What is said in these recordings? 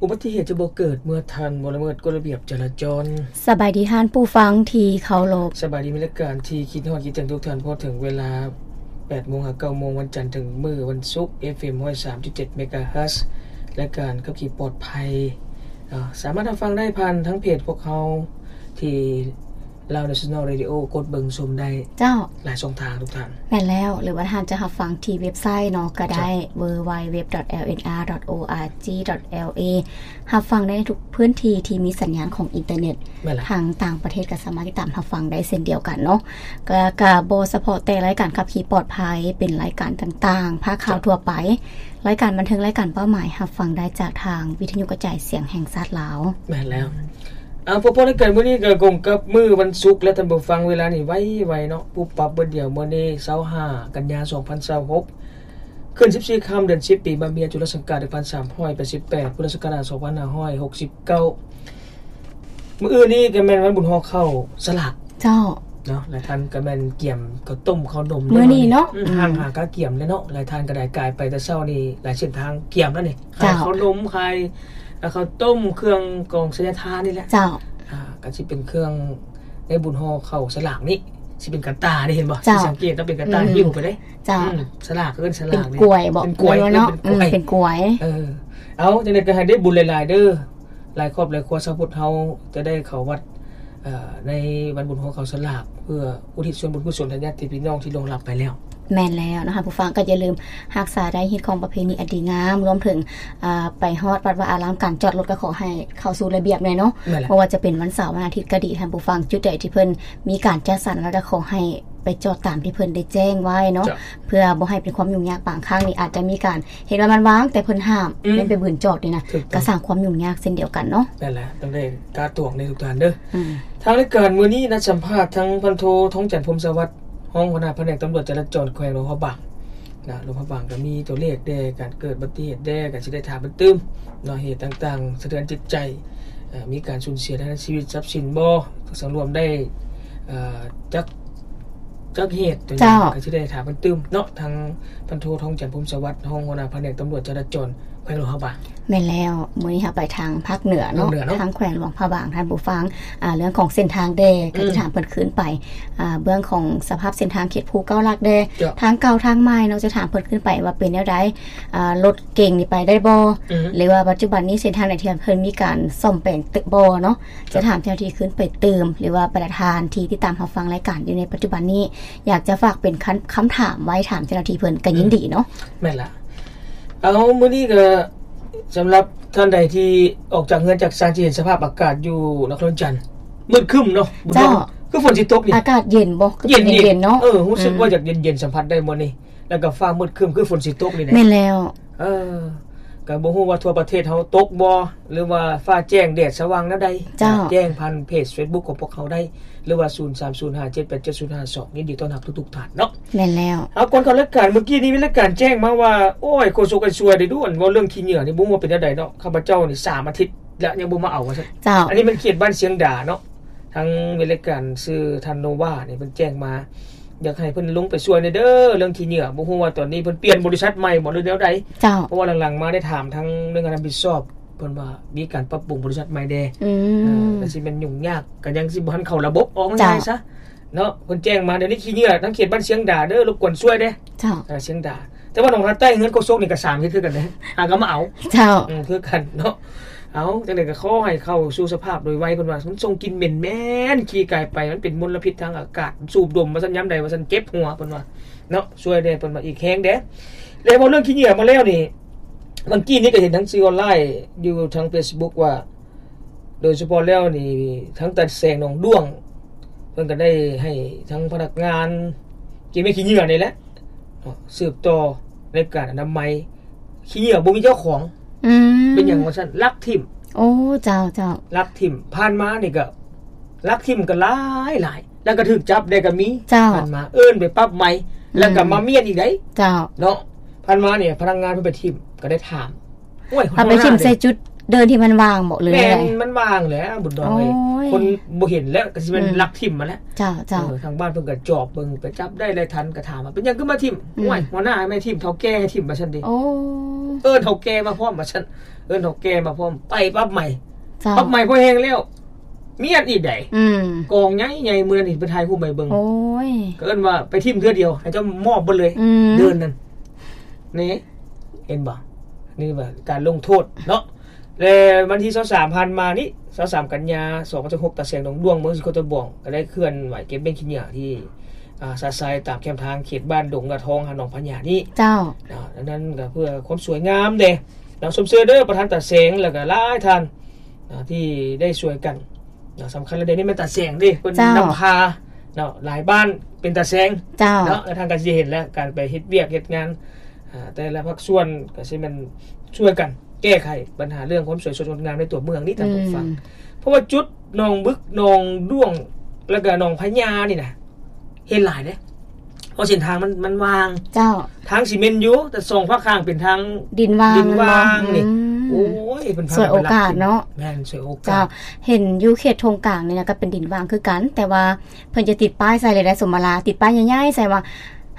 ອຸບັດຕິເຫດຈະບໍ່ເກີດເມື່ອທ່ານບໍ່ລະເມີດກົດລະບຽບຈະລາຈອນ. ສະບາຍດີທ່ານຜູ້ຟັງທີ່ເຄົາລົບ. ສະບາຍດີມິດ ລາຍການທີ່ຄິດຮອດຄິດເຖິງທຸກທ່ານ. ພໍເຖິງເວລາແປດໂມງຫາເກົ້າໂມງ ວັນຈັນເຖິງມື້ວັນສຸກ ເອັຟເອັມຮ້ອຍສາມຈຸດເຈັດເມກາເຮີດ ລາຍການຂັບຂີ່ປອດໄພ ເນາະ ສາມາດຮັບຟັງໄດ້ຜ່ານທາງເພຈພວກເຮົາທີ່ Lao National Radio ກົດເບິ່ງຊົມໄດ້ ເຈົ້າ ຫຼາຍຊ່ອງທາງທຸກທ່ານ. ແມ່ນແລ້ວ ຫຼືວ່າທ່ານຈະຮັບຟັງທີ່ເວັບໄຊເນາະ ກໍໄດ້ ເຈົ້າ www.lnr.org.la ຮັບຟັງໄດ້ໃນທຸກພື້ນທີ່ທີ່ມີສັນຍານຂອງອິນເຕີເນັດ. ແມ່ນແລ້ວ ທາງຕ່າງປະເທດກໍສາມາດຕິດຕາມຮັບຟັງໄດ້ເຊັ່ນດຽວກັນເນາະ. ກໍ ກໍບໍ່ສະເພາະແຕ່ລາຍການຂັບຂີ່ປອດໄພ ເປັນລາຍການຕ່າງໆ ພາກຂ່າວ ເຈົ້າ ທົ່ວໄປ ລາຍການບັນເທີງ ລາຍການເປົ້າໝາຍ ຮັບຟັງໄດ້ຈາກທາງວິທະຍຸກະຈາຍສຽງແຫ່ງຊາດລາວ. ແມ່ນແລ້ວ. ເອົາ ພໍໆ ລາຍການມື້ນີ້ກໍກົງກັບມື້ວັນສຸກແລ້ວທ່ານຜູ້ຟັງ. ເວລານີ້ໄວໆ ເນາະ ປຸບປັບເບີດດຽວ. ມື້ນີ້ຊາວຫ້າກັນຍາ ສອງພັນຊາວຫົກ ຂຶ້ນສິບສີ່ຄ່ຳ ເດືອນສິບ ປີມະເມຍ ຈຸລະສັງກາດ ໜຶ່ງພັນສາມຮ້ອຍແປດສິບແປດ ພຸດທະສັກກະລາດ ສອງພັນຫ້າຮ້ອຍຫົກສິບເກົ້າ. ມື້ອື່ນນີ້ກໍແມ່ນວັນບຸນຫໍ່ເຂົ້າສະຫຼາກ ເຈົ້າ ເນາະ. ຫຼາຍທ່ານກໍແມ່ນກຽມເຂົ້າຕົ້ມເຂົ້າໜົມ ມື້ນີ້ເນາະ ອືມ ອືມ ຫ້າງຫາກະກຽມແລ້ວເນາະ. ຫຼາຍທ່ານກໍໄດ້ກາຍໄປແຕ່ເຊົ້ານີ້ ຫຼາຍເສັ້ນທາງກຽມແລ້ວນີ້ ເຈົ້າ ຂາຍເຂົ້າໜົມ ຂາຍ ເອີ ເຂົ້າຕົ້ມ ເຄື່ອງກອງໄຊຍະທານນີ້ແຫຼະ ເຈົ້າ. ອ່າ ກໍຊິເປັນເຄື່ອງໃນບຸນຫໍ່ເຂົ້າສະຫຼາກນີ້ ຊິເປັນກະຕ່ານີ້ ເຫັນບໍ່? ເຈົ້າ ຊິສັງເກດເນາະ ເປັນກະຕ່າ ອືມ ຫິ້ວໄປເດ້ ເຈົ້າ ອືມ ສະຫຼາກ ເອີ້ນສະຫຼາກ ເປັນກວຍບໍ? ເປັນກວຍ ເປັນກວຍ ເນາະ ເປັນກວຍ ອືມ ເປັນກວຍ ເອີ ເອົາ ຈັ່ງໃດກໍໃຫ້ໄດ້ບຸນຫຼາຍໆ ເດີ ຫຼາຍຄອບຫຼາຍຄົວຊາວພຸດເຮົາຈະໄດ້ເຂົ້າວັດ ເອີ ໃນວັນບຸນຫໍ່ເຂົ້າສະຫຼາກ ເພື່ອອຸທິດສ່ວນບຸນກຸສົນໃຫ້ຍາດຕິພີ່ນ້ອງທີ່ລ່ວງລັບໄປແລ້ວ. ແມ່ນແລ້ວເນາະ ທ່ານຜູ້ຟັງ ກໍຢ່າລືມຮັກສາໄດ້ຮີດຄອງປະເພນີອັນດີງາມ ລວມເຖິງ ອ່າ ໄປຮອດວັດວາອາລາມ ການຈອດລົດກໍຂໍໃຫ້ເຂົ້າສູ່ລະບຽບແດ່ເນາະ. ແມ່ນແລ້ວ ບໍ່ວ່າຈະເປັນວັນເສົາ ວັນອາທິດກໍດີ ທ່ານຜູ້ຟັງ ຈຸດໃດທີ່ເພິ່ນມີການຈັດສັນ ແລ້ວກໍຂໍໃຫ້ໄປຈອດຕາມທີ່ເພິ່ນໄດ້ແຈ້ງໄວ້ເນາະ ເຈົ້າ ເພື່ອບໍ່ໃຫ້ເປັນຄວາມຫຍຸ້ງຍາກ. ບາງຄັ້ງນີ້ອາດຈະມີການ ເຫັນວ່າມັນວ່າງ ແຕ່ເພິ່ນຫ້າມ ອືມ ແມ່ນໄປບືນຈອດນີ້ນະ ຖືກຕ້ອງ ກໍສ້າງຄວາມຫຍຸ້ງຍາກເຊັ່ນດຽວກັນເນາະ. ນັ້ນແຫຼະ ຕ້ອງໄດ້ກາດຕວງເດ້ທຸກທ່ານເດີ. ອືມ ທາງລາຍການມື້ນີ້ນັດສຳພາດທັງພັນໂທ ທອງຈັນ ພົມສະຫວັດ ຮອງຫົວໜ້າພະແນກຕຳຫຼວດຈະລາຈອນແຂວງຫຼວງພະບາງນະ. ຫຼວງພະບາງກໍມີຕົວເລກແດ່ ການເກີດອຸບັດຕິເຫດແດ່ ກໍຊິໄດ້ຖາມເພິ່ນຕື່ມເນາະ ເຫດຕ່າງໆ ສະເທືອນຈິດໃຈ ເອີ ມີການສູນເສຍທາງດ້ານຊີວິດຊັບສິນບໍ່ ສັງລວມໄດ້ ເອີ ຈັກ ຈັກເຫດຕົວຢ່າງ ເຈົ້າ ກໍຊິໄດ້ຖາມເພິ່ນຕື່ມເນາະ. ທາງພັນໂທ ທອງຈັນ ພົມສະຫວັດ ຮອງຫົວໜ້າພະແນກຕຳຫຼວດຈະລາຈອນແຂວງຫຼວງພະບາງ. ແມ່ນແລ້ວ ມື້ນີ້ເຮົາໄປທາງພາກເໜືອເນາະ ພາກເໜືອເນາະ ທາງແຂວງຫຼວງພະບາງ ທ່ານຜູ້ຟັງ ອ່າ ເລື່ອງຂອງເສັ້ນທາງແດ່ ກໍຈະ ອືມ ຖາມເພິ່ນຄືນໄປ ອ່າ ເບື້ອງຂອງສະພາບເສັ້ນທາງເຂດພູເກົ້າຫຼັກແດ່ ເຈົ້າ ທາງເກົ່າທາງໃໝ່ເນາະ ຈະຖາມເພິ່ນຄືນໄປວ່າເປັນແນວໃດ ອ່າ ລົດເກັ່ງນີ້ໄປໄດ້ບໍ່ ອືມ ຫຼືວ່າປັດຈຸບັນນີ້ເສັ້ນທາງໃດທີ່ເພິ່ນມີການສ້ອມແປງແຕ່ບໍ່ເນາະ ເຈົ້າ ຈະຖາມເຈົ້າໜ້າທີ່ຄືນໄປຕື່ມ ຫຼືວ່າບັນດາທ່ານທີ່ຕິດຕາມຮັບຟັງລາຍການຢູ່ໃນປັດຈຸບັນນີ້ ຢາກຈະຝາກເປັນຄຳ ຄຳຖາມໄວ້ຖາມເຈົ້າໜ້າທີ່ເພິ່ນກໍຍິນດີເນາະ. ອືມ ແມ່ນລະ. ເອົາ ມື້ນີ້ກໍສຳລັບທ່ານໃດທີ່ອອກຈາກເຮືອນຈາກຊານ ຈະເຫັນສະພາບອາກາດຢູ່ນະຄອນຫຼວງວຽງຈັນ ມືດຄຶ້ມເນາະ ເຈົ້າ ບຸນຫໍ່ ຄືຝົນຊິຕົກນີ້ ອາກາດເຢັນບໍ່? ຄືເຢັນໆ ເນາະ ເອີ ຮູ້ສຶກ ອືມ ວ່າຢາກເຢັນໆ ສຳຜັດໄດ້ມື້ນີ້ ແລ້ວກໍຟ້າມືດຄຶ້ມ ຄືຝົນຊິຕົກນີ້ແຫຼະ. ແມ່ນແລ້ວ ເອີ ກໍບໍ່ຮູ້ວ່າທົ່ວປະເທດເຮົາຕົກບໍ່ ຫຼືວ່າຟ້າແຈ້ງແດດສະຫວ່າງແນວໃດ ເຈົ້າ ແຈ້ງຜ່ານເພຈເຟສບຸກຂອງພວກເຮົາໄດ້ ຫຼືວ່າ ສູນສາມສູນຫ້າເຈັດແປດເຈັດສູນຫ້າສອງ ຍິນດີຕ້ອນຮັບທຸກໆທ່ານເນາະ. ແມ່ນແລ້ວ ເອົາ ກ່ອນເຂົ້າລາຍການ ມື້ກີ້ນີ້ມີລາຍການແຈ້ງມາວ່າ ໂອ້ຍ ໂຄສົກໄອ້ຊ່ວຍໄດ້ດ່ວນ ເວົ້າເລື່ອງຂີ້ເຫຍື້ອນີ້ ບໍ່ຮູ້ວ່າເປັນແນວໃດເນາະ ຂ້າພະເຈົ້ານີ້ສາມອາທິດແລ້ວ ຍັງບໍ່ມາເອົາວ່າຊັ້ນ. ເຈົ້າ ອັນນີ້ແມ່ນເຂດບ້ານຊຽງດາເນາະ ທາງເວລາການຊື່ທ່ານໂນວານີ້ ເພິ່ນແຈ້ງມາ ຢາກໃຫ້ເພິ່ນລົງໄປຊ່ວຍແດ່ເດີ ເລື່ອງຂີ້ເຫຍື້ອ ບໍ່ຮູ້ວ່າຕອນນີ້ເພິ່ນປ່ຽນບໍລິສັດໃໝ່ບໍ່ ຫຼືແນວໃດ. ເຈົ້າ ເພາະວ່າຫຼັງໆມາໄດ້ຖາມທາງໜ່ວຍງານຮັບຜິດຊອບ ເພິ່ນວ່າມີການປັບປຸງບໍລິສັດໃໝ່ແດ່. ອືມ ເອີ ກໍຊິແມ່ນຫຍຸ້ງຍາກ ກໍຍັງຊິບໍ່ທັນເຂົ້າລະບົບ ເວົ້າງ່າຍໆຊະເນາະ. ເພິ່ນແຈ້ງມາ ດຽວນີ້ຂີ້ເຫຍື້ອທາງເຂດບ້ານຊຽງດາເດີ ລົບກວນຊ່ວຍແດ່. ເຈົ້າ ເອີ ຊຽງດາ ແຕ່ວ່າໜອງທາໃຕ້ເຮືອນໂຄສົກນີ້ກໍສາມເຮັດຄືກັນເດ້ ຫາກໍມາເອົາ. ເຈົ້າ ອືມ ຄືກັນເນາະ. ເອົາ ຈັ່ງໃດກໍຂໍໃຫ້ເຂົ້າສູ່ສະພາບໂດຍໄວ ເພິ່ນວ່າມັນສົ່ງກິ່ນເໝັນແມ່ນ ຂີ່ກາຍໄປ ມັນເປັນມົນລະພິດທາງອາກາດ ສູດດົມວ່າຊັ້ນ ຍາມໃດວ່າຊັ້ນເຈັບຫົວ ເພິ່ນວ່າເນາະ ຊ່ວຍແດ່ ເພິ່ນວ່າອີກແຮງແດ່. ແລ້ວເວົ້າເລື່ອງຂີ້ເຫຍື້ອມາແລ້ວນີ້ ເມື່ອກີ້ນີ້ກໍເຫັນທາງສື່ອອນລາຍຢູ່ທາງເຟສບຸກວ່າ ໂດຍສະເພາະແລ້ວນີ້ ທາງຕາແສງໜອງດ້ວງ ເພິ່ນກໍໄດ້ໃຫ້ທາງພະນັກງານເກັບແມ່ຂີ້ເຫຍື້ອນີ້ແຫຼະເນາະ ສືບຕໍ່ໃນການອະນາໄມ ຂີ້ເຫຍື້ອບໍ່ມີເຈົ້າຂອງ. ອືມ ເປັນຫຍັງວ່າຊັ້ນ ລັກຖິ້ມ. ໂອ້ ເຈົ້າ ເຈົ້າ ລັກຖິ້ມ ຜ່ານມານີ້ກໍລັກຖິ້ມກໍຫຼາຍໆ ແລ້ວກໍຖືກຈັບໄດ້ກໍມີ. ເຈົ້າ ຜ່ານມາເອີ້ນໄປປັບໃໝ ອືມ ແລ້ວກໍມາມ້ຽນອີກໄດ໋. ເຈົ້າ ເນາະ ຜ່ານມານີ້ພະນັກງານເພິ່ນໄປຖິ້ມ ກໍໄດ້ຖາມ ໂອ້ຍ ເອົາໄປຖິ້ມໃສ່ຈຸດ ເດີ່ນທີ່ມັນວ່າງບໍ ຫຼື ແມ່ນ ແນວໃດ? ມັນວ່າງແຫຼະບຸນດອງເອີຍ ໂອ້ຍ ຄົນບໍ່ເຫັນແລ້ວ ກໍຊິແມ່ນ ອືມ ລັກຖິ້ມຫັ້ນແຫຼະ. ເຈົ້າ ເຈົ້າ ເອີ ທາງບ້ານເພິ່ນກໍຈອບເບິ່ງ ໄປຈັບໄດ້ໄລ່ທັນ ກໍຖາມວ່າ ເປັນຫຍັງຄືມາຖິ້ມ? ອືມ ໂອ້ຍ ຫົວໜ້າໃຫ້ມາຖິ້ມ ເຖົ້າແກ່ໃຫ້ຖິ້ມ ວ່າຊັ້ນເດ. ໂອ້ ເອີ້ນເຖົ້າແກ່ມາພ້ອມ ວ່າຊັ້ນ ເອີ້ນເຖົ້າແກ່ມາພ້ອມ ໄປປັບໃໝ່. ເຈົ້າ ປັບໃໝ່ພໍແຫ້ງແລ້ວ ມີອັນອີກໃດ໋ ອືມ ກອງໃຫຍ່ໆ ມື້ນັ້ນນີ້ເພິ່ນຖ່າຍຮູບໃຫ້ເບິ່ງ. ໂອ້ຍ ກໍເອີ້ນວ່າໄປຖິ້ມເທື່ອດຽວ ໃຫ້ເຈົ້າມອບເບິດເລີຍ ອືມ ເດີ່ນນັ້ນ. ນີ້ ເຫັນບໍ່? ນີ້ວ່າການລົງໂທດເນາະ ແລະ ວັນທີຊາວສາມຜ່ານມານີ້ ຊາວສາມກັນຍາ ສອງພັນຊາວຫົກ ຕາແສງໜອງດ້ວງ ເມືອງສີໂຄດຕະບອງ ກໍໄດ້ເຄື່ອນໄຫວເກັບເບ້ງຂີ້ເຫຍື້ອທີ່ ອ່າ ຊະຊາຍຕາມແຄມທາງເຂດບ້ານດົງນາທອງ ຫາໜອງພະຍານີ້. ເຈົ້າ ອ່າ ອັນນັ້ນກໍເພື່ອຄວາມສວຍງາມເດ້ ນຳຊົມເຊີຍເດີ ປະທານຕາແສງ ແລ້ວກໍຫຼາຍທ່ານ ອ່າ ທີ່ໄດ້ຊ່ວຍກັນ ນະ ສຳຄັນແລ້ວເດ ນີ້ແມ່ນຕາແສງເດ້ ເພິ່ນ ເຈົ້າ ນຳພາເນາະ ຫຼາຍບ້ານເປັນຕາແສງ ເຈົ້າ ເນາະ ແລະ ທ່ານກໍຊິເຫັນແລ້ວ ການໄປເຮັດວຽກເຮັດງານ ອ່າ ແຕ່ລະພາກສ່ວນກໍຊິແມ່ນຊ່ວຍກັນແກ້ໄຂບັນຫາເລື່ອງຄວາມສວຍສົດງົດງາມໃນຕົວເມືອງນີ້ ທ່ານຜູ້ຟັງ ອືມ ເພາະວ່າຈຸດໜອງບຶກ ໜອງດ້ວງ ແລ້ວກໍໜອງພະຍານີ້ນະ ເຫັນຫຼາຍເດ້ ເພາະເສັ້ນທາງມັນ ມັນວ່າງ. ເຈົ້າ ທາງຊິເມັນຢູ່ ແຕ່ສອງພາກຂ້າງເປັນທາງດິນວ່າງ ດິນວ່າງນີ້ ອືມ ໂອ້ຍ ເພິ່ນພາກັນໄປລັກ ສວຍໂອກາດເນາະ. ແມ່ນ ສວຍໂອກາດ. ເຈົ້າ ເຫັນຢູ່ເຂດທົ່ງກາງນີ້ນະ ກໍເປັນດິນວ່າງຄືກັນ ແຕ່ວ່າເພິ່ນຈະຕິດປ້າຍໃສ່ເລີຍໄດ໋ ສົມມະລາ ຕິດປ້າຍໃຫຍ່ໆໃສ່ວ່າ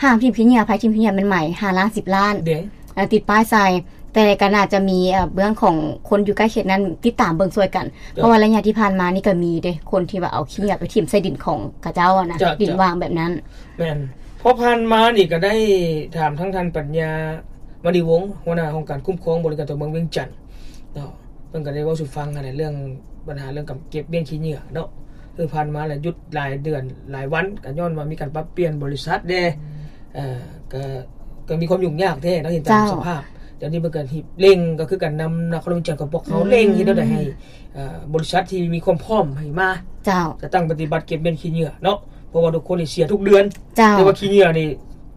ຫ້າມຖິ້ມຂີ້ເຫຍື້ອ ໃຜຖິ້ມຂີ້ເຫຍື້ອມັນໃໝ ຫ້າລ້ານ ສິບລ້ານ ເດ້ ຕິດປ້າຍໃສ່ ແຕ່ກໍໜ້າຈະມີ ເອີ ເບື້ອງຂອງຄົນຢູ່ໃກ້ເຂດນັ້ນຕິດຕາມເບິ່ງຊ່ວຍກັນ ເຈົ້າ ເພາະວ່າໄລຍະທີ່ຜ່ານມານີ້ກໍມີເດ້ ຄົນທີ່ວ່າເອົາຂີ້ເຫຍື້ອໄປຖິ້ມໃສ່ດິນຂອງເຂົາເຈົ້ານະ ເຈົ້າ ດິນວ່າງແບບນັ້ນ. ແມ່ນ ເພາະຜ່ານມານີ້ກໍໄດ້ຖາມທາງທ່ານປັນຍາ ມະນີວົງ ຫົວໜ້າຫ້ອງການຄຸ້ມຄອງບໍລິການຕົວເມືອງວຽງຈັນເນາະ ເພິ່ນກໍໄດ້ເວົ້າສູ່ຟັງຫັ້ນແຫຼະ ເລື່ອງບັນຫາເລື່ອງການເກັບເບ້ງຂີ້ເຫຍື້ອເນາະ ຄືຜ່ານມາລະຢຸດຫຼາຍເດືອນຫຼາຍວັນ ກໍຍ້ອນວ່າມີການປັບປ່ຽນບໍລິສັດແດ່ ເອີ ກໍ ກໍມີຄວາມຫຍຸ້ງຍາກແທ້ເນາະ ເຫັນຕາມ ເຈົ້າ ສະພາບ. ດຽວນີ້ເພິ່ນກໍຮີບເລັ່ງ ກໍຄືການນຳນະຄອນຫຼວງວຽງຈັນຂອງພວກເຮົາ ອືມ ເລັ່ງເຮັດແນວໃດໃຫ້ ເອີ ບໍລິສັດທີ່ມີຄວາມພ້ອມໃຫ້ມາ ເຈົ້າ ຈັດຕັ້ງປະຕິບັດເກັບເບ້ງຂີ້ເຫຍື້ອເນາະ ເພາະວ່າທຸກຄົນນີ້ເສຍທຸກເດືອນ ເຈົ້າ ແຕ່ວ່າຂີ້ເຫຍື້ອນີ້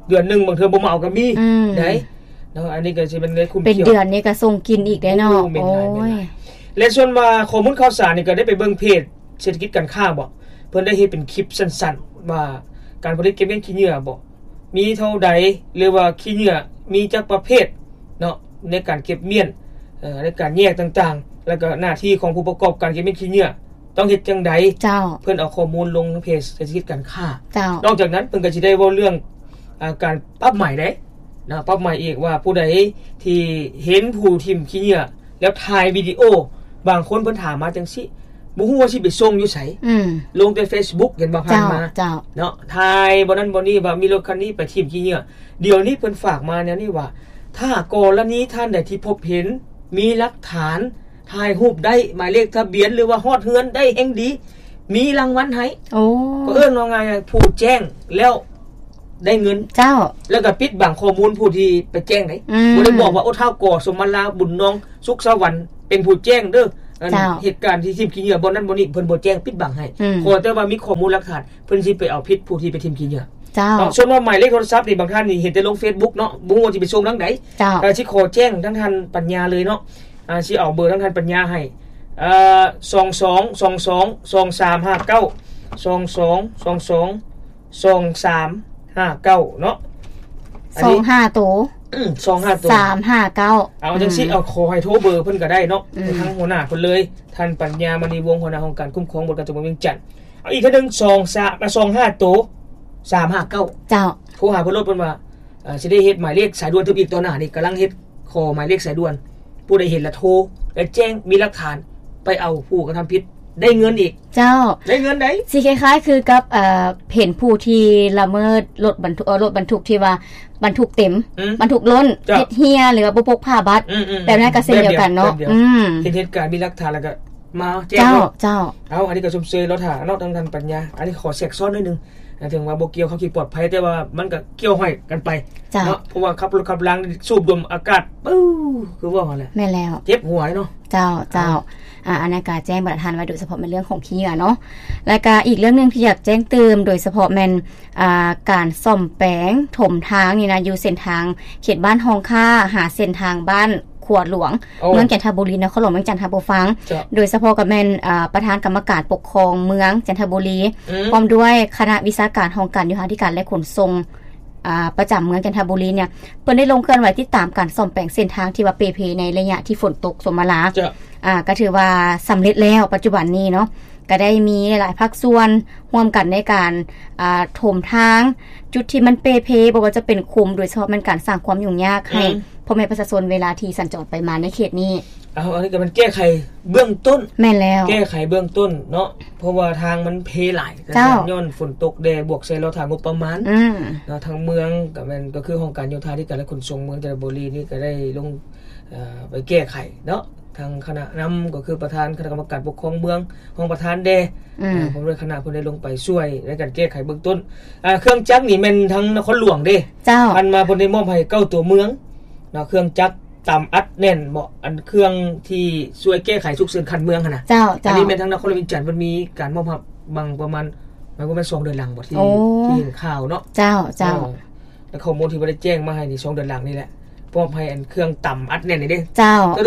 ເດືອນໜຶ່ງບາງເທື່ອບໍ່ມາເອົາກໍມີ ອືມ ໄດ໋ເນາະ. ອັນນີ້ກໍຊິແມ່ນໄດ້ຄຸ້ມ ເປັນເດືອນນີ້ກໍສົ່ງກິນອີກໄດ໋ເນາະ. ໂອ້ ແມ່ນຫຼາຍ ໂອ້ຍ ແມ່ນຫຼາຍ. ແລະ ສ່ວນວ່າຂໍ້ມູນຂ່າວສານນີ້ກໍໄດ້ໄປເບິ່ງເພຈເສດຖະກິດການຄ້າບໍ ເພິ່ນໄດ້ເຮັດເປັນຄລິບສັ້ນໆ ວ່າການຜະລິດເກັບເບ້ງຂີ້ເຫຍື້ອບໍ ມີເທົ່າໃດ ຫຼືວ່າຂີ້ເຫຍື້ອມີຈັກປະເພດເນາະ ໃນການເກັບມ້ຽນ ເອີ ໃນການແຍກຕ່າງໆ ແລ້ວກໍໜ້າທີ່ຂອງຜູ້ປະກອບການເກັບເບ້ງຂີ້ເຫຍື້ອຕ້ອງເຮັດຈັ່ງໃດ. ເຈົ້າ ເພິ່ນເອົາຂໍ້ມູນລົງໃນເພຈເສດຖະກິດການຄ້າ. ເຈົ້າ ນອກຈາກນັ້ນເພິ່ນກໍຊິໄດ້ເວົ້າເລື່ອງ ອ່າ ການປັບໃໝເດ້ ນະ ປັບໃໝອີກວ່າຜູ້ໃດທີ່ເຫັນຜູ້ຖິ້ມຂີ້ເຫຍື້ອ ແລ້ວຖ່າຍວິດີໂອ ບາງຄົນເພິ່ນຖາມມາຈັ່ງຊີ້ ບໍ່ຮູ້ວ່າຊິໄປສົ່ງຢູ່ໃສ ອືມ ລົງແຕ່ເຟສບຸກ ເຫັນບໍ່ ຜ່ານມາ ເຈົ້າ ເນາະ ຖ່າຍບ່ອນນັ້ນບ່ອນນີ້ ວ່າມີລົດຄັນນີ້ໄປຖິ້ມຂີ້ເຫຍື້ອ. ດຽວນີ້ເພິ່ນຝາກມາແນວນີ້ວ່າ ຖ້າກໍລະນີທ່ານໃດທີ່ພົບເຫັນ ມີຫຼັກຖານ ຖ່າຍຮູບໄດ້ ໝາຍເລກທະບຽນ ຫຼືວ່າຮອດເຮືອນໄດ້ແຮ່ງດີ ມີລາງວັນໃຫ້. ໂອ້ ກໍເອີ້ນວ່າງ່າຍໆ ຜູ້ແຈ້ງແລ້ວໄດ້ເງິນ. ເຈົ້າ ແລ້ວກໍປິດບັງຂໍ້ມູນຜູ້ທີ່ໄປແຈ້ງໄດ໋ ອືມ ບໍ່ໄດ້ບອກວ່າ ໂອ້ ທ້າວ ກ ສົມມະລາ ບຸນນອງ ສຸກສະຫວັນ ເປັນຜູ້ແຈ້ງເດີ ອັນ ເຈົ້າ ເຫດການທີ່ຖິ້ມຂີ້ເຫຍື້ອ ບ່ອນນັ້ນບ່ອນນີ້ ເພິ່ນບໍ່ແຈ້ງ ປິດບັງໃຫ້ ອືມ ຂໍແຕ່ວ່າມີຂໍ້ມູນຫຼັກຖານ ເພິ່ນຊິໄປເອົາຜິດຜູ້ທີ່ໄປຖິ້ມຂີ້ເຫຍື້ອ. ເຈົ້າ ເນາະ ສ່ວນວ່າໝາຍເລກໂທລະສັບນີ້ ບາງທ່ານນີ້ເຫັນແຕ່ລົງເຟສບຸກເນາະ ບໍ່ຮູ້ວ່າຊິໄປສົ່ງທາງໃດ. ເຈົ້າ ກໍຊິຂໍແຈ້ງທາງທ່ານປັນຍາເລີຍເນາະ ອ່າ ຊິເອົາເບີທາງທ່ານປັນຍາໃຫ້ ເອີ ສອງສອງສອງສອງສອງສາມຫ້າເກົ້າ ສອງສອງສອງສອງສອງສາມຫ້າເກົ້າ ເນາະ ອັນນີ້ ສອງຫ້າໂຕ ອືມ ສອງຫ້າໂຕ ສາມຫ້າເກົ້າ. ເອົາຈັ່ງຊີ້ ອືມ ເອົາ ຂໍໃຫ້ໂທເບີເພິ່ນກໍໄດ້ເນາະ ອືມ ທາງຫົວໜ້າເພິ່ນເລີຍ ທ່ານປັນຍາ ມະນີວົງ ຫົວໜ້າຫ້ອງການຄຸ້ມຄອງ ບໍລິການຕົວເມືອງວຽງຈັນ. ເອົາ ອີກເທື່ອໜຶ່ງ ສອງສາມ ສອງຫ້າໂຕ ສາມຫ້າເກົ້າ. ເຈົ້າ ໂທຫາເພິ່ນໂລດ ເພິ່ນວ່າ ເອີ ຊິໄດ້ເຮັດໝາຍເລກສາຍດ່ວນຕື່ມອີກ ຕໍ່ໜ້ານີ້ກຳລັງເຮັດ ຂໍໝາຍເລກສາຍດ່ວນ ຜູ້ໃດເຫັນລະໂທ ແລະ ແຈ້ງ ມີຫຼັກຖານ ໄປເອົາຜູ້ກະທຳຜິດໄດ້ເງິນອີກ. ເຈົ້າ ໄດ້ເງິນໄດ໋ ຊິຄ້າຍໆຄືກັບ ເອີ ເຫັນຜູ້ທີ່ລະເມີດລົດບັນທຸກ ເອີ ລົດບັນທຸກທີ່ວ່າບັນທຸກເຕັມ ອືມ ບັນທຸກລົ້ນ ເຈົ້າ ເຮັດເຮຍ ຫຼືວ່າບໍ່ປົກຜ້າບັດ ອືມໆໆ ແບບນັ້ນກໍເຊັ່ນດຽວກັນເນາະ ແບບດຽວ ອືມ ເຫັນເຫດການມີຫຼັກຖານແລ້ວກໍ ມາແຈ້ງ ເຈົ້າ ເນາະ ເຈົ້າ ເອົາ ອັນນີ້ກໍຊົມເຊີຍລາວທ່ານເນາະ ທາງທ່ານປັນຍາ. ອັນນີ້ຂໍແຊກຊ້ອນໜ້ອຍໜຶ່ງ ເຖິງວ່າບໍ່ກ່ຽວກັບຄວາມປອດໄພ ແຕ່ວ່າມັນກໍກ່ຽວຫ້ອຍກັນໄປ ເຈົ້າ ເນາະ ເພາະວ່າຂັບລົດຂັບລາງສູດດົມອາກາດ ປຶ້ ຄືວ່າຫັ້ນແຫຼະ ແມ່ນແລ້ວ ເຈັບຫົວເນາະ. ເຈົ້າ ເຈົ້າ ເອົາ ອ່າ ອັນນັ້ນກໍແຈ້ງບັນດາທ່ານໄວ້ ໂດຍສະເພາະແມ່ນເລື່ອງຂອງຂີ້ເຫຍື້ອເນາະ ແລ້ວກໍອີກເລື່ອງໜຶ່ງທີ່ຢາກແຈ້ງຕື່ມ ໂດຍສະເພາະແມ່ນ ອ່າ ການສ້ອມແປງຖົມທາງນີ້ນະ ຢູ່ເສັ້ນທາງເຂດບ້ານຮ່ອງຄ້າ ຫາເສັ້ນທາງບ້ານຂົວຫຼວງ ໂອ້ ເມືອງຈັນທະບູລີ ນະຄອນຫຼວງວຽງຈັນ ທ່ານຜູ້ຟັງ ເຈົ້າ ໂດຍສະເພາະກໍແມ່ນ ອ່າ ປະທານກຳມະການປົກຄອງເມືອງຈັນທະບູລີ ອືມ ພ້ອມດ້ວຍຄະນະວິຊາການຫ້ອງການໂຍທາທິການ ແລະ ຂົນສົ່ງ ອ່າ ປະຈຳເມືອງຈັນທະບູລີເນຍ ເພິ່ນໄດ້ລົງເຄື່ອນໄຫວຕິດຕາມການສ້ອມແປງເສັ້ນທາງທີ່ວ່າເປເພໃນໄລຍະທີ່ຝົນຕົກສົມມາລາ ເຈົ້າ ອ່າ ກໍຖືວ່າສຳເລັດແລ້ວ ປັດຈຸບັນນີ້ເນາະ ກໍໄດ້ມີຫຼາຍໆພາກສ່ວນຮ່ວມກັນໃນການ ອ່າ ຖົມທາງ ຈຸດທີ່ມັນເປ່ເພ ບໍ່ວ່າຈະເປັນຂຸມ ໂດຍສະເພາະແມ່ນການສ້າງຄວາມຫຍຸ້ງຍາກໃຫ້ ອືມ ພໍ່ແມ່ປະຊາຊົນເວລາທີ່ສັນຈອນໄປມາໃນເຂດນີ້. ເອົາ ອັນນີ້ກໍແມ່ນແກ້ໄຂເບື້ອງຕົ້ນ. ແມ່ນແລ້ວ. ແກ້ໄຂເບື້ອງຕົ້ນເນາະ ເພາະວ່າທາງມັນເພຫຼາຍ ເຈົ້າ ຍ້ອນຝົນຕົກແດ່ ບວກໃສ່ລໍຖ້າງົບປະມານ ອືມ ເນາະ. ທາງເມືອງກໍແມ່ນ ກໍຄືຫ້ອງການໂຍທາທິການ ແລະ ຂົນສົ່ງເມືອງ ແຕ່ລະບໍລິນີ້ກໍໄດ້ລົງ ເອີ ໄປແກ້ໄຂເນາະ ທາງຄະນະນຳ ກໍຄືປະທານຄະນະກຳມະການປົກຄອງເມືອງ ຮອງປະທານແດ່ ອືມ ເອີ ພ້ອມດ້ວຍຄະນະ ເພິ່ນໄດ້ລົງໄປຊ່ວຍໃນການແກ້ໄຂເບື້ອງຕົ້ນ. ອ່າ ເຄື່ອງຈັກນີ້ແມ່ນທາງນະຄອນຫຼວງເດ້ ເຈົ້າ ຜ່ານມາເພິ່ນໄດ້ມອບໃຫ້ເກົ້າຕົວເມືອງເນາະ ເຄື່ອງຈັກຕຳອັດແໜ້ນເບາະ ອັນເຄື່ອງທີ່ຊ່ວຍແກ້ໄຂສຸກເສີນຂັ້ນເມືອງຫັ້ນນະ ເຈົ້າ ອັນນີ້ແມ່ນທາງນະຄອນຫຼວງວຽງຈັນເພິ່ນມີການມອບຮັບບາງປະມານ ມັນບໍ່ແມ່ນສອງເດືອນຫຼັງບໍ່ ທີ່ ໂອ້ ທີ່ເຫັນຂ່າວເນາະ ເຈົ້າ ເຈົ້າ ເອີ ແລະ ຂໍ້ມູນທີ່ບໍ່ໄດ້ແຈ້ງມາໃຫ້ນີ້ ສອງເດືອນຫຼັງນີ້ແຫຼະ ມອບໃຫ້ອັນເຄື່ອງຕຳອັດແໜ້ນນີ້ເດ້ ເຈົ້າ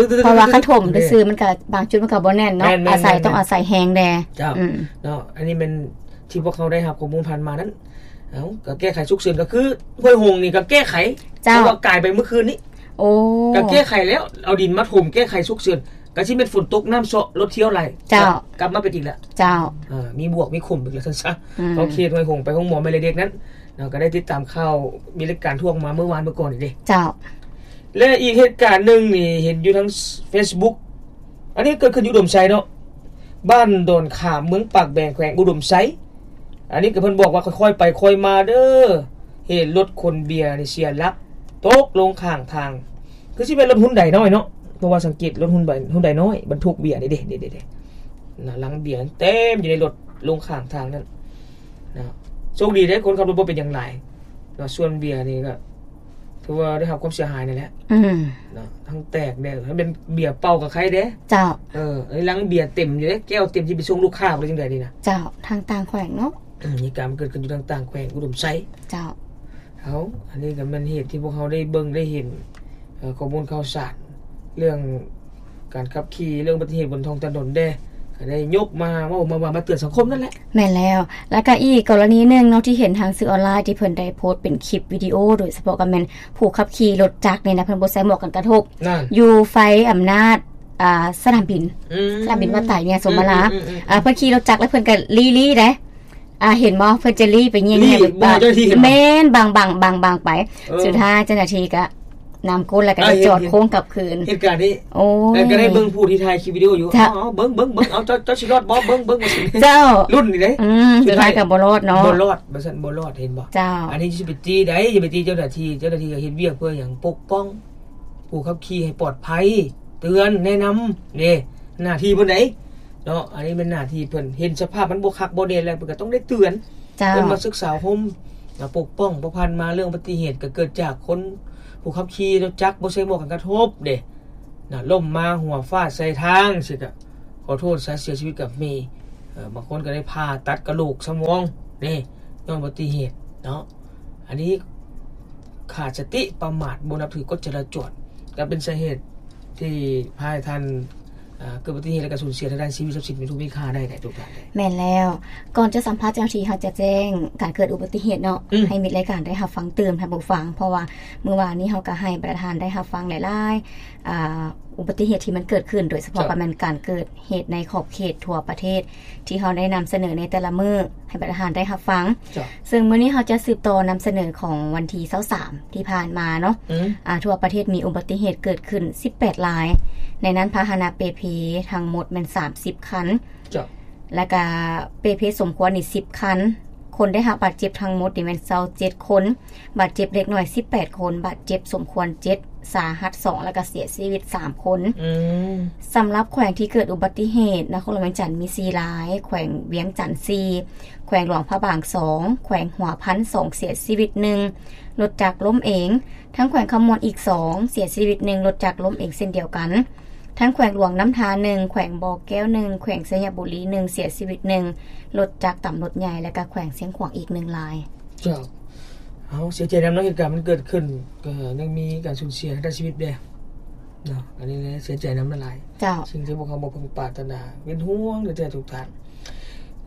ເພາະວ່າຄັນຖົມຊື່ໆ ມັນກໍບາງຈຸດມັນກໍບໍ່ແໜ້ນເນາະ ແມ່ນໆໆໆ ອາໄສ ຕ້ອງອາໄສແຮງແດ່ ເຈົ້າ ອືມ ເນາະ. ອັນນີ້ແມ່ນທີ່ພວກເຮົາໄດ້ຮັບຂໍ້ມູນຜ່ານມານັ້ນ ເອົ້າ ກໍແກ້ໄຂສຸກເສີນ ກໍຄືຫ້ວຍຫົງນີ້ກໍແກ້ໄຂ ເຈົ້າ ເພາະວ່າກາຍໄປມື້ຄືນນີ້ ໂອ້ ກໍແກ້ໄຂແລ້ວ ເອົາດິນມາຖົມແກ້ໄຂສຸກເສີນ ກໍຊິແມ່ນຝົນຕົກນ້ຳເຊາະລົດທຽວໄຫຼ ເຈົ້າ ກໍກັບມາເປັນອີກແລ້ວ ເຈົ້າ ເອີ ມີບວກມີຂົມອີກແລ້ວຊັ້ນຊະ ອືມ ເພາະເຂດຫ້ວຍຫົງໄປໂຮງໝໍແມ່ເລັກເດັກນັ້ນເນາະ ກໍໄດ້ຕິດຕາມຂ່າວ ມີລາຍການທວງມາເມື່ອວານເມື່ອກ່ອນນີ້ເດ້ ເຈົ້າ ແລະ ອີກເຫດການໜຶ່ງນີ້ ເຫັນຢູ່ທາງເຟສບຸກ ອັນນີ້ເກີດຂຶ້ນຢູ່ອຸດົມໄຊເນາະ ບ້ານດອນຂາມ ເມືອງປາກແບງ ແຂວງອຸດົມໄຊ. ອັນນີ້ກໍເພິ່ນບອກວ່າຄ່ອຍໆໄປຄ່ອຍມາເດີ ເຫດລົດຂົນເບຍນີ້ເສຍຫຼັກຕົກລົງຂ້າງທາງ ຄືຊິແມ່ນລົດຮຸນໄດນ້ອຍເນາະ ເພາະວ່າສັງເກດລົດຮຸນໄດ ຮຸນໄດນ້ອຍບັນທຸກເບຍນີ້ເດ້ ເດ້ໆໆ ນະ ລັງເບຍເຕັມຢູ່ໃນລົດລົງຂ້າງທາງນັ້ນນະ. ໂຊກດີເດ້ ຄົນຂັບລົດບໍ່ເປັນຫຍັງຫຼາຍເນາະ ສ່ວນເບຍນີ້ກໍ ຖືວ່າໄດ້ຮັບຄວາມເສຍຫາຍນັ້ນແຫຼະ ອືມ ເນາະ ທັງແຕກແດ່ ຖ້າເປັນເບຍເປົ່າກໍໄຄແດ່ ເຈົ້າ ເອີ ລັງເບຍເຕັມຢູ່ເດ້ ແກ້ວເຕັມ ຊິໄປສົ່ງລູກຄ້າໄດ້ຈັ່ງໃດນີ້ນະ ເຈົ້າ ທາງຕ່າງແຂວງເນາະ ອືມ ເຫດການມັນເກີດຂຶ້ນຢູ່ທາງຕ່າງແຂວງ ອຸດົມໄຊ ເຈົ້າ ເອົາ ອັນນີ້ກໍແມ່ນເຫດທີ່ພວກເຮົາໄດ້ເບິ່ງໄດ້ເຫັນ ເອີ ຂໍ້ມູນຂ່າວສານ ເລື່ອງການຂັບຂີ່ ເລື່ອງອຸບັດຕິເຫດບົນທ້ອງຖະໜົນແດ່ ກໍໄດ້ຍົກມາເວົ້າ ມາວ່າ ມາເຕືອນສັງຄົມນັ້ນແຫຼະ ແມ່ນແລ້ວ ແລ້ວກໍອີກກໍລະນີໜຶ່ງເນາະ ທີ່ເຫັນທາງສື່ອອນລາຍ ທີ່ເພິ່ນໄດ້ໂພສເປັນຄລິບວິດີໂອ ໂດຍສະເພາະກໍແມ່ນຜູ້ຂັບຂີ່ລົດຈັກນີ້ນະ ເພິ່ນບໍ່ໃສ່ໝວກກັນກະທົບ ຢູ່ໄຟອຳນາດ ອ່າ ສະໜາມບິນ ອືມ ສະໜາມບິນວັດໄຕເມຍສົມມາລາ ອືມໆໆໆ ອ່າ ເພິ່ນຂີ່ລົດຈັກ ແລ້ວເພິ່ນກໍລີ້ໆເດ້ ອ່າ ເຫັນບໍ່ ເພິ່ນຈະລີ້ໄປແຍງ ລີ້ ແຍງ ບໍ່ໃຫ້ເຈົ້າໜ້າທີ່ເຫັນບໍ່ ແມ່ນ ບາງ ບາງ ບາງ ບາງໄປ ເອີ ສຸດທ້າຍເຈົ້າໜ້າທີ່ກໍນຳກົນ ແລ້ວກໍໄດ້ ອ່າ ຈອດ ເຫັນ ໂຄ້ງກັບຄືນ ເຫດການນີ້ ໂອ້ຍ ແລ້ວກໍໄດ້ເບິ່ງຜູ້ທີ່ຖ່າຍຄລິບວິດີໂອຢູ່ ເຈົ້າ ເອົາ ເບິ່ງ ເບິ່ງ ເບິ່ງ ເອົາ ເຈົ້າ ເຈົ້າຊິລອດບໍ່ ເບິ່ງ ເບິ່ງ ວ່າຊັ້ນ ເຈົ້າ ລຸ້ນນີ້ເດ້ ອືມ ສຸດທ້າຍກໍບໍ່ລອດເນາະ ບໍ່ລອດ ວ່າຊັ້ນ ບໍ່ລອດ ເຫັນບໍ່ ເຈົ້າ ອັນນີ້ຊິໄປຕີໃດ ຢ່າໄປຕີເຈົ້າໜ້າທີ່ ເຈົ້າໜ້າທີ່ກໍເຮັດວຽກເພື່ອຫຍັງ ປົກປ້ອງ ຜູ້ຂັບຂີ່ໃຫ້ປອດໄພ ເຕືອນ ແນະນຳ ເດ້ ໜ້າທີ່ເພິ່ນໃດເນາະ ອັນນີ້ແມ່ນໜ້າທີ່ເພິ່ນ ເຫັນສະພາບມັນບໍ່ຄັກບໍ່ແນ່ແລ້ວ ເພິ່ນກໍຕ້ອງໄດ້ເຕືອນ ເຈົ້າ ເອີ້ນມາສຶກສາອົບຮົມ ແລະ ປົກປ້ອງ ເພາະຜ່ານມາເລື່ອງອຸບັດຕິເຫດກໍເກີດຈາກຄົນ ຜູ້ຂັບຂີ່ລົດຈັກບໍ່ໃສ່ໝວກກັນກະທົບເດ້ ນະ ລົ້ມມາຫົວຟາດໃສ່ທາງ ຊິກະ ຂໍໂທດຊະ ເສຍຊີວິດກໍມີ ເອີ ບາງຄົນກໍໄດ້ຜ່າຕັດກະໂຫຼກສະໝອງເດ້ ຍ້ອນອຸບັດຕິເຫດເນາະ ອັນນີ້ຂາດສະຕິປະໝາດ ບໍ່ນັບຖືກົດຈະລາຈອນ ກໍເປັນສາເຫດທີ່ພາໃຫ້ທ່ານ ເອີ ເກີດອຸບັດຕິເຫດ ແລະ ກໍສູນເສຍທາງດ້ານຊີວິດຊັບສິນ ມີທຸກມີຄ່າໄດ້ ໄດ້ທຸກຢ່າງໄດ້. ແມ່ນແລ້ວ ກ່ອນຈະສຳພາດເຈົ້າໜ້າທີ່ ເຮົາຈະແຈ້ງການເກີດອຸບັດຕິເຫດເນາະ ອືມ ໃຫ້ມິດລາຍການໄດ້ຮັບຟັງຕື່ມ ທ່ານຜູ້ຟັງ ເພາະວ່າມື້ວານນີ້ເຮົາກໍໃຫ້ບັນດາທ່ານໄດ້ຮັບຟັງຫຼາຍໆ ອ່າ ອຸບັດຕິເຫດທີ່ມັນເກີດຂຶ້ນ ໂດຍສະເພາະ ເຈົ້າ ກໍແມ່ນການເກີດເຫດໃນຂອບເຂດທົ່ວປະເທດ ທີ່ເຮົາໄດ້ນຳສະເໜີໃນແຕ່ລະມື້ໃຫ້ບັນດາທ່ານໄດ້ຮັບຟັງ ເຈົ້າ ເຊິ່ງມື້ນີ້ເຮົາຈະສືບຕໍ່ນຳສະເໜີຂອງວັນທີຊາວສາມ ທີ່ຜ່ານມາເນາະ ອືມ ອ່າ ທົ່ວປະເທດມີອຸບັດຕິເຫດເກີດຂຶ້ນສິບແປດລາຍ ໃນນັ້ນພາຫະນະເປ່ເພທັງໝົດແມ່ນສາມສິບຄັນ ເຈົ້າ ແລ້ວກະເປ່ເພສົມຄວນນີ້ສິບຄັນ ຄົນໄດ້ຮັບບາດເຈັບທັງໝົດນີ້ແມ່ນຊາວເຈັດຄົນ ບາດເຈັບເລັກນ້ອຍສິບແປດຄົນ ບາດເຈັບສົມຄວນເຈັດ ສາຫັດສອງ ແລ້ວກະເສຍຊີວິດສາມຄົນ ອືມ ສຳລັບແຂວງທີ່ເກີດອຸບັດຕິເຫດ ນະຄອນຫຼວງວຽງຈັນມີສີ່ລາຍ ແຂວງວຽງຈັນສີ່ ແຂວງຫຼວງພະບາງສອງ ແຂວງຫົວພັນສອງ ເສຍຊີວິດໜຶ່ງ ລົດຈັກລົ້ມເອງ ທັງແຂວງຄຳມ່ວນອີກສອງ ເສຍຊີວິດໜຶ່ງ ລົດຈັກລົ້ມເອງເຊັ່ນດຽວກັນ ທັງແຂວງຫຼວງນ້ຳທາໜຶ່ງ ແຂວງບໍ່ແກ້ວໜຶ່ງ ແຂວງໄຊຍະບູລີໜຶ່ງ ເສຍຊີວິດໜຶ່ງ ລົດຈັກຕຳລົດໃຫຍ່ ແລະ ກະແຂວງຊຽງຂວາງອີກໜຶ່ງລາຍ. ເຈົ້າ ເອົາ ເສຍໃຈນຳເນາະ ເຫດການມັນເກີດຂຶ້ນ ກໍຍັງມີການສູນເສຍທາງດ້ານຊີວິດແດ່ເນາະ ອັນນີ້ແຫຼະ ເສຍໃຈນຳຫຼາຍໆ ເຈົ້າ ສິ່ງທີ່ພວກເຮົາບໍ່ເພິ່ງປາດຖະໜາ ເປັນຫ່ວງແທ້ໆທຸກທ່ານ.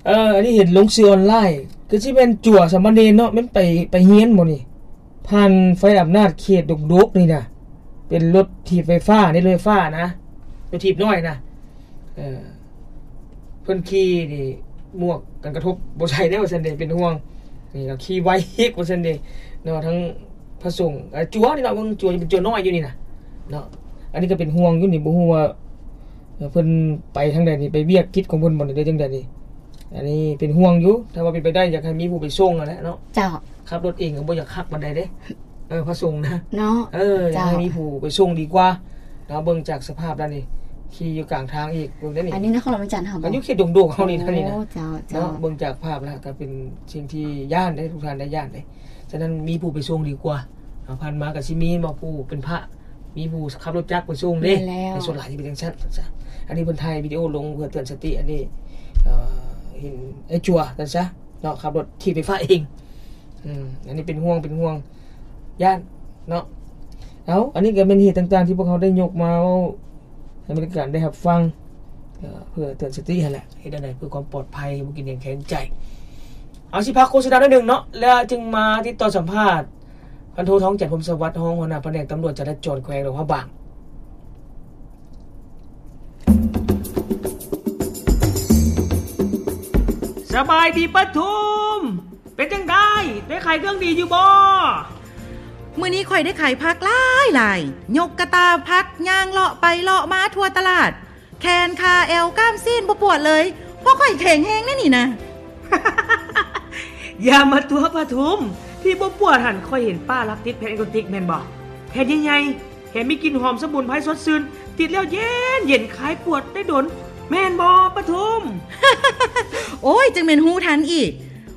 ເອີ ອັນນີ້ເຫັນລົງສື່ອອນລາຍ ຄືຊິແມ່ນຈົວສາມະເນນເນາະ ແມ່ນໄປ ໄປຮຽນບໍ່ນີ້? ຜ່ານໄຟອຳນາດເຂດດົກໆນີ້ນະ ເປັນລົດຖີບໄຟຟ້ານີ້ ລົດໄຟຟ້ານະ ລົດຖີບນ້ອຍນະ ເອີ ເພິ່ນຂີ່ນີ້ໝວກກັນກະທົບບໍ່ໃສ່ແດ່ວ່າຊັ້ນເດ ເປັນຫ່ວງ. ນີ້ກໍຂີ່ໄວອີກວ່າຊັ້ນເດເນາະ ທັງພະສົງ ເອີ ຈົວນີ້ເນາະ ເບິ່ງຈົວນີ້ເປັນຈົວນ້ອຍຢູ່ນີ້ນະເນາະ. ອັນນີ້ກໍເປັນຫ່ວງຢູ່ນີ້ ບໍ່ຮູ້ວ່າ ເອີ ເພິ່ນໄປທາງໃດນີ້ ໄປວຽກກິດຂອງເພິ່ນບໍ່ນີ້ ຫຼືຈັ່ງໃດນີ້. ອັນນີ້ເປັນຫ່ວງຢູ່ ຖ້າວ່າເປັນໄປໄດ້ຢາກໃຫ້ມີຜູ້ໄປສົ່ງຫັ້ນແຫຼະເນາະ. ເຈົ້າ. ຂັບລົດເອງກໍບໍ່ຢາກຄັກປານໃດເດ້ ເອີ ພະສົງນະເນາະ. ເອີ ຢາກໃຫ້ມີຜູ້ໄປສົ່ງດີກວ່າເນາະ. ເບິ່ງຈາກສະພາບແລ້ວນີ້ ຂີ່ຢູ່ກາງທາງອີກ ເບິ່ງເດ້ນີ້. ອັນນີ້ນະຄອນຫຼວງວຽງຈັນເຮົາບໍ່? ຢູ່ເຂດດົງໂດກເຮົານີ້ນະ ນີ້ນະ. ໂອ້ ເຈົ້າ ເຈົ້າ. ເນາະ ເບິ່ງຈາກພາບແລ້ວກໍເປັນສິ່ງທີ່ຢ້ານເດ້ ທຸກທ່ານໄດ້ຢ້ານເດ້. ສະນັ້ນມີຜູ້ໄປສົ່ງດີກວ່າ. ເອົາ ຜ່ານມາກໍຊິມີບໍ່ ຜູ້ເປັນພະ ມີຜູ້ຂັບລົດຈັກໄປສົ່ງເດ້. ແມ່ນແລ້ວ. ໃນສ່ວນຫຼາຍຊິເປັນຈັ່ງຊັ້ນ ຊັ້ນຊະ. ອັນນີ້ເພິ່ນຖ່າຍວິດີໂອລົງເພື່ອເຕືອນສະຕິ. ອັນນີ້ ເອີ ເຫັນໄອ້ຈົວ ຊັ້ນຊະເນາະ ຂັບລົດຖີບໄຟຟ້າເອງ. ອືມ ອັນນີ້ເປັນຫ່ວງ ເປັນຫ່ວງ ຢ້ານເນາະ. ເອົາ ອັນນີ້ກໍແມ່ນເຫດຕ່າງໆທີ່ພວກເຮົາໄດ້ຍົກມາເວົ້າໃຫ້ບັນດາທ່ານໄດ້ຮັບຟັງ ເອີ ເພື່ອເຕືອນສະຕິຫັ້ນແຫຼະ. ເຮັດແນວໃດເພື່ອຄວາມປອດໄພ ບໍ່ກິນແຮງແຄງໃຈ. ເອົາ ຊິພັກໂຄສະນາໜ້ອຍໜຶ່ງເນາະ ແລ້ວຈຶ່ງມາຕິດຕໍ່ສຳພາດ ພັນໂທ ທອງຈັນ ພົມສະຫວັດ ຮອງຫົວໜ້າພະແນກຕຳຫຼວດຈະລາຈອນແຂວງຫຼວງພະບາງ. ສະບາຍດີປ້າທຸມ ເປັນຈັ່ງໃດ ໄດ້ຂາຍເຄື່ອງດີຢູ່ບໍ່? ມື້ນີ້ຂ້ອຍໄດ້ຂາຍຜັກຫຼາຍໆ ຍົກກະຕ່າຜັກ ຍ່າງເລາະໄປເລາະມາທົ່ວຕະຫຼາດ ແຂນ ຂາ ແອວ ກ້າມ ຊີ້ນ ບໍ່ປວດເລີຍ ເພາະຂ້ອຍແຂງແຮງແນວນີ້ນະ. ຢ່າມາຕົວະປ້າທຸມ ທີ່ບໍ່ປວດຫັ້ນ ຂ້ອຍເຫັນປ້າລັກຕິດແຜ່ນເອໂກຕິກແມ່ນບໍ່? ແຜ່ນໃຫຍ່ໆ ແຖມມີກິ່ນຫອມສະໝຸນໄພສົດຊື່ນ ຕິດແລ້ວເຢັນໆ ຄາຍປວດໄດ້ດົນ ແມ່ນບໍ່ປ້າທຸມ? ໂອ້ຍ ຈັ່ງແມ່ນຮູ້ທັນອີກ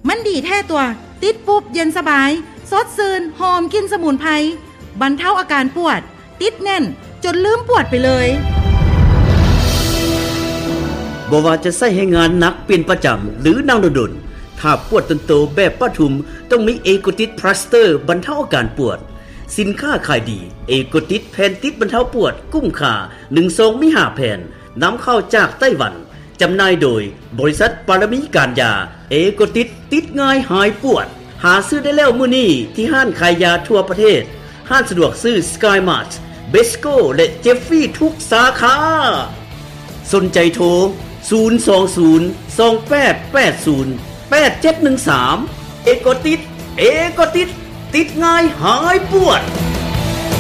ມັນດີແທ້ຕົວະ ຕິດປຸບເຢັນສະບາຍ ສົດຊື່ນ ຫອມກິ່ນສະໝຸນໄພ ບັນເທົາອາການປວດ ຕິດແໜ້ນຈົນລືມປວດໄປເລີຍ. ບໍ່ວ່າຈະໃຊ້ແຮງງານໜັກເປັນປະຈຳ ຫຼື ນັ່ງດົນໆ ຖ້າປວດຕົນໂຕແບບປ້າທຸມ ຕ້ອງມີເອໂກຕິດພລາສເຕີ ບັນເທົາອາການປວດ. ສິນຄ້າຂາຍດີ ເອໂກຕິດ ແຜ່ນຕິດບັນເທົາປວດ ກຸ້ມຄ່າ ໜຶ່ງຊອງມີຫ້າແຜ່ນ ນຳເຂົ້າຈາກໄຕ້ຫວັນ. ຈຳໜ່າຍໂດຍບໍລິສັດປາລະມີການຢາ. ເອໂກຕິດ ຕິດງ່າຍຫາຍປວດ. ຫາຊື້ໄດ້ແລ້ວມື້ນີ້ທີ່ຮ້ານຂາຍຢາທົ່ວປະເທດ, ຮ້ານສະດວກຊື້ Sky Mart, Besco ແລະ Jeffrey ທຸກສາຂາ. ສົນໃຈໂທ ສູນສອງສູນ ສອງແປດແປດສູນ ແປດເຈັດໜຶ່ງສາມ. ເອໂກຕິດ ເອໂກຕິດ ຕິດງ່າຍຫາຍປວດ.